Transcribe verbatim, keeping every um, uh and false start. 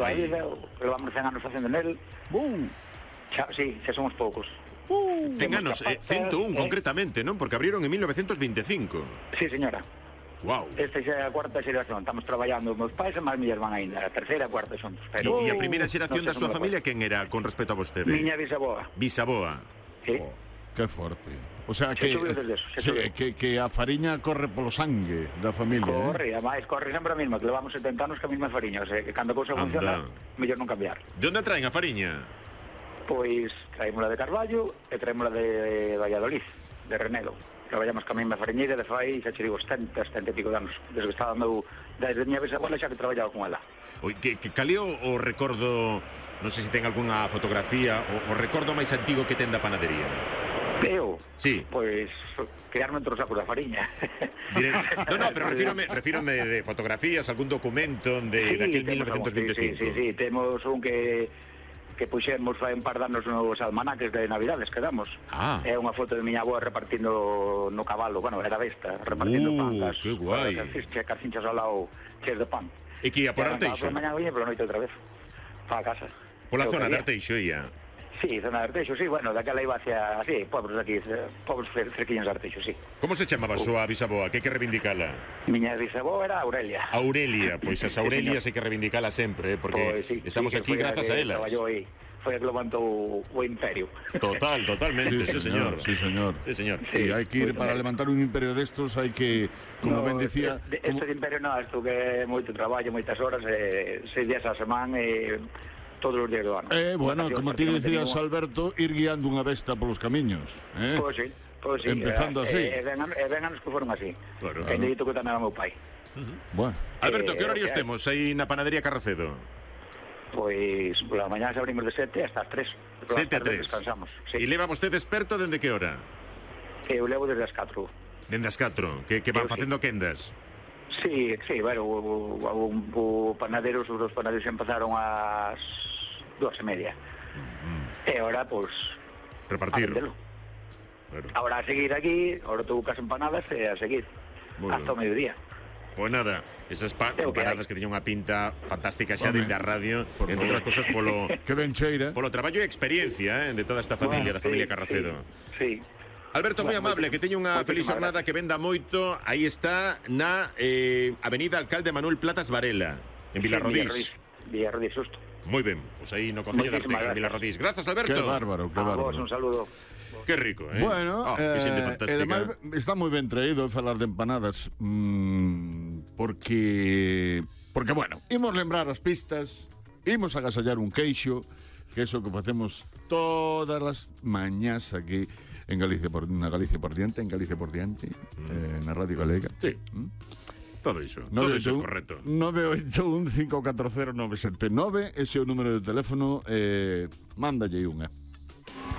A vida, levamos cen anos facendo nel. Uh. Xa, sí, xa somos poucos. Uh. cen anos, eh, ciento un eh. concretamente, non? Porque abriron en mil novecientos veinticinco. Sí, señora. Wow. Esta xa é a cuarta xeración. Estamos traballando meus pais e máis millas van ainda. A terceira e a cuarta son. Pero... E, e a primeira xeración no da súa familia, quen era con respecto a vostede? Miña bisaboa. Bisaboa. Sí. Oh, que forte. O sea, que, eso, sí, que, que a fariña corre polo sangue da familia. Corre, eh? además, corre sempre a mesma, que levamos setenta anos que a mesma fariña. O sea, que cando a cousa funciona, mellor non cambiar. De onde traen a fariña? Pois traímola de Carballo e traímola de Valladolid, de Renedo. Traballamos ca mesma fariñeira de fai, xa che digo, setenta, setenta e pico de anos. Desde que estaba dando, desde miña bisabuela xa que traballaba con ela. Oi, que, que caleo o recordo, non sei se ten algunha fotografía, o, o recordo máis antigo que ten da panadería? Eu? Sí. Pois quedarme entre os sacos da fariña. Dire... No, no, pero refírome, refírome de fotografías, algún documento de, sí, de aquel mil novecientos veinticinco. Sí, sí, sí, temos un que que puxemos fai un par de anos nos almanaques de Navidades que damos. Ah. É unha foto de miña avó repartindo no cabalo, bueno, era besta, repartindo uh, pan. Uh, que guai. Carcinchas ao lado chees de pan. E que ia por Arteixo? Por mañá viña, pero noite outra vez. Pa a casa. Pola zona de Arteixo ia? Sí, zona de Arteixo, sí, bueno, daquela iba hacia, así, pobres aquí, pobres cerquiños de Arteixo, sí. Como se chamaba a súa bisaboa? Que hai que reivindicala? Miña bisaboa era Aurelia. Aurelia, pois as Aurelias hai que reivindicala sempre, eh, porque pues, sí, estamos sí, aquí grazas a elas. Aí. Foi a que levantou o imperio. Total, totalmente, sí, sí señor. Sí, señor. Sí, señor. Sí, hai que ir para levantar un imperio destos, hai que, como no, ben decía... Este como... de imperio non, isto que é moito traballo, moitas horas, eh, seis días a semana e... Eh, todos os días do ano. Eh, bueno, como ti dicías, Alberto, ir guiando unha besta polos camiños, eh? Pois sí, pois sí. Empezando así. E ben anos que foron así. Claro. Que dito que tamén era meu pai. Bueno. Alberto, que horarios temos aí na panadería Carracedo? Pois, pola mañá abrimos de sete hasta as tres. sete a tres. Descansamos. E leva vostede experto dende que hora? Eu levo desde as catro. Dende as catro? Que, que van facendo quendas? Sí, sí, bueno, o, o, o panadero, os dos panaderos empezaron ás dúas e media. Uh-huh. E ahora, pois... Pues, repartir. Claro. Ahora a seguir aquí, ahora tuvo cas empanadas e a seguir. Muy hasta o mediodía. Pois pues nada, esas pa empanadas que, que teñen unha pinta fantástica xa dende a radio, por entre outras cosas polo... que ben cheira. Polo traballo e experiencia, eh, de toda esta familia, bueno, da familia sí, Carracedo. Sí, sí. Alberto, moi bueno, amable, que teña unha feliz jornada, que venda moito. Aí está na eh, Avenida Alcalde Manuel Platas Varela, en Vilarrodís. Vilarrodís, justo. Moi ben, pois aí no Concello de Arteixo, en Vilarrodís. Grazas, Alberto. Que bárbaro, que bárbaro. A vos, un saludo. Que rico, eh? Bueno, oh, que eh, además está moi ben traído falar de empanadas, mmm, porque, porque, bueno, imos lembrar as pistas, imos agasallar un queixo, que é iso que facemos todas as mañás aquí en Galicia por, na Galicia por diante, en Galicia por diante, mm. eh, na Radio Galega. Sí. ¿Mm? Todo iso, no todo iso é correcto. nove oito un cinco catro cero nove sete nove, ese é o número de teléfono, eh, mándalle unha.